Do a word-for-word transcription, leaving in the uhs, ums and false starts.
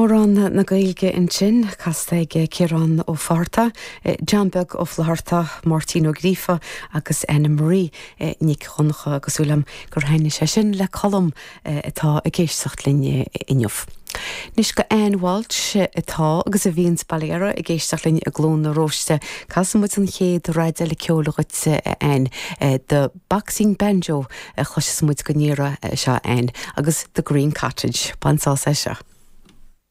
Amhrán na Gaeilge ansin casta ag Ciarán Ó Fátharta, John Beag Ó Flatharta, Máirtín Ó Gríofa agus Anna Marie Nic Dhonncha agus súil agam gur thaitin sé sin le Colm atá ag éisteacht linn inniu. Anois go Ann Walsh atá agus a bhíonn Bailera ag éisteacht linn i gCluain na Róiste, Casfaidh muid an chéad rud eile ceoil dhuit Ann The Boxing Banjo a chloisfidh muid go n-iarraidh seo Ann agus The Green Cottage, Bain sás as seo.